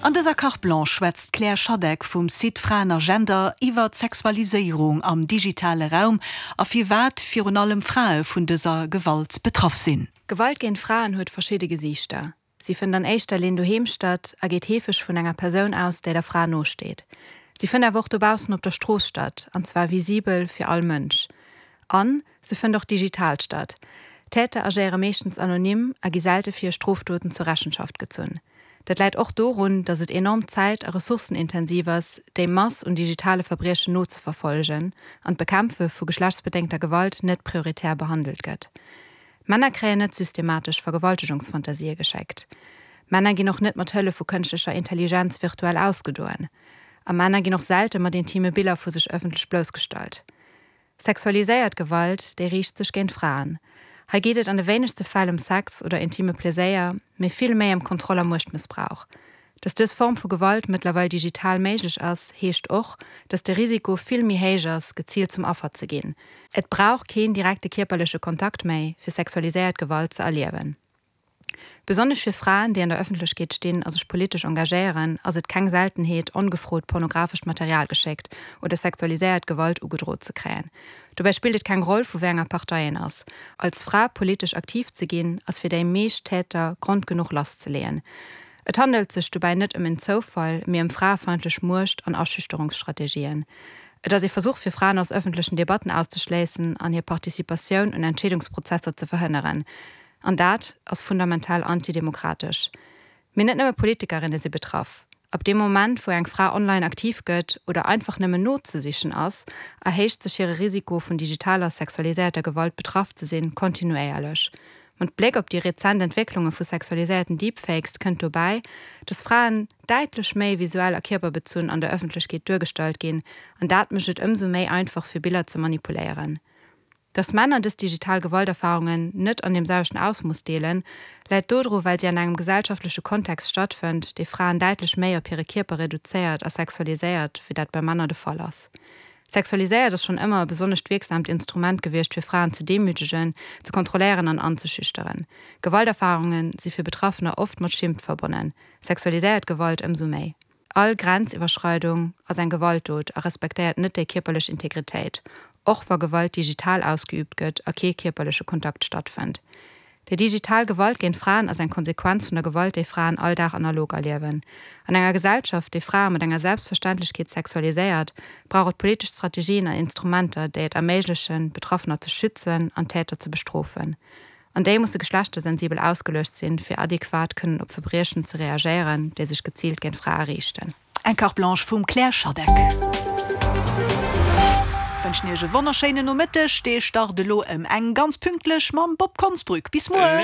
An dëser Carte Blanche schwätzt d'Claire Schadeck vum Site Fraen a Gender iwwer d'Sexualiséierung am digitale Raum a firwat virun allem Frae vun dëser Gewalt betraff sinn. Gewalt géint Fraen huet verschidde Gesiichter. Si fënnt an éischter Linn doheem statt a geet heefeg vun enger Persoun aus, déi der Fra nosteet. Si fënnt awer och dobaussen op der Strooss statt, an zwar visibel fir all Mënsch. An se fënnt och digital statt. D'Täter agéiere meeschtens anonym a gi selte fir hir Strofdoten zur Rechenschaft gezunn. Dat läit och dorun, datt et enorm zäit a ressourcenintensiv ass, déi Mass un digitale Verbriechen nozeverfollegen an d'Bekämpfe vu geschlechtsbedéngter Gewalt net prioritär behandelt gëtt. Männer kréien net systematesch Vergewaltegungsfantasië geschéckt. Männer ginn och net mat Hëllef vu kënschtlecher Intelligenz virtuell ausgedoen. A Männer ginn och selte mat intime Biller vu sech ëffentlech bloussgestallt. Sexualiséiert Gewalt, déi riicht sech géint Fraen. Hei geet et an de wéinegste Fäll ëm Sex oder intime Pleséier, mee vill méi ëm Kontroll a Muechtmëssbrauch. Dass dës Form vu Gewalt mëttlerweil digital méiglech ass, heescht och, dass de Risiko vill méi héich ass, geziilt zum Affer ze ginn. Et brauch keen direkte kierperleche Kontakt méi, fir sexualiséiert Gewalt ze erliewen. Besonnesch fir Fraen, déi an der Ëffentlechkeet stinn a sech politesch engagéieren, ass et keng Seltenheet, ongefrot pornografescht Material geschéckt oder sexualiséiert Gewalt ugedrot ze kréien. Dobäi spillt et keng Roll, vu wéi enger Partei een ass. Als Fra politesch aktiv ze ginn, ass fir déi meescht Täter Grond genuch lasszeleeën. Et handelt sech dobäi net ëm en Zoufall, mee ëm fraefeindlech Muecht an Aschüchterungsstrategien. Et ass ee Versuch fir Fraen aus ëffentlechen Debatten auszeschléissen an hir Participatioun un Entscheedungsprozesser ze verhënneren. An dat ass fundamental antidemokratesch. Mee net nëmme Politikerinne si betraff. Ab deem Moment, wou eng Fra online aktiv gëtt oder einfach nëmmen nozesichen ass, erhéicht sech hire Risiko, vun digitaler sexualiséierter Gewalt betraff ze sinn, kontinuéierlech. Mat Bléck op déi rezent Entwécklunge vu sexualiséierten Deepfakes kënnt dobäi, dass Fraen däitlech méi visuell a kierperbezunn an der Ëffentlechkeet duergestallt ginn, an dat mécht et ëmsou méi einfach fir Biller ze manipuléieren. Dass Männer dës digital Gewalterfarungen net an deem selwechten Ausmooss deelen, läit dodru well si an engem gesellschaftleche Kontext stattfënnt, dee Fraen däitlech méi op hire Kierper reduzéiert a sexualiséiert, wéi dat bei Männer de Fall ass. Sexualiséiert ass schonn ëmmer e besonnescht wierksaamt Instrument gewiescht fir Fraen ze demütegen, ze kontrolléieren an anzeschüchteren. Gewalterfarunge si fir Betraffener oft mat Schimmt verbonnen, sexualiséiert Gewalt ëmsou méi. All Grenziwwerschreidung ass eng Gewaltdot a respektéiert net déi kierperlech Integritéit, och wa Gewalt digital ausgeüübt gëtt a kee kierperleche Kontakt stattfënnt. Déi digital Gewalt géint Fraen ass eng Konsequenz vun der Gewalt, déi Fraen all Dag analog erliewen. An enger Gesellschaft, déi Frae mat enger Selbstverständlechkeet sexualiséiert, brauch et politesch Strategien an Instrumenter, déi et erméiglechen, Betraffener ze schützen an Täter ze bestrofen. An déi musse geschlechtersensibel ausgeluecht sinn, fir adequat kënnen op Verbriechen ze reagéieren, déi sech geziilt géint Frae riichten. Eng Carte Blanche vum Claire Schadeck. Wënschen iech e wonnerschéinen Nomëtteg. Dee start elo ëm eng ganz pünktlech mam Bob Konsbrück. Bis muer!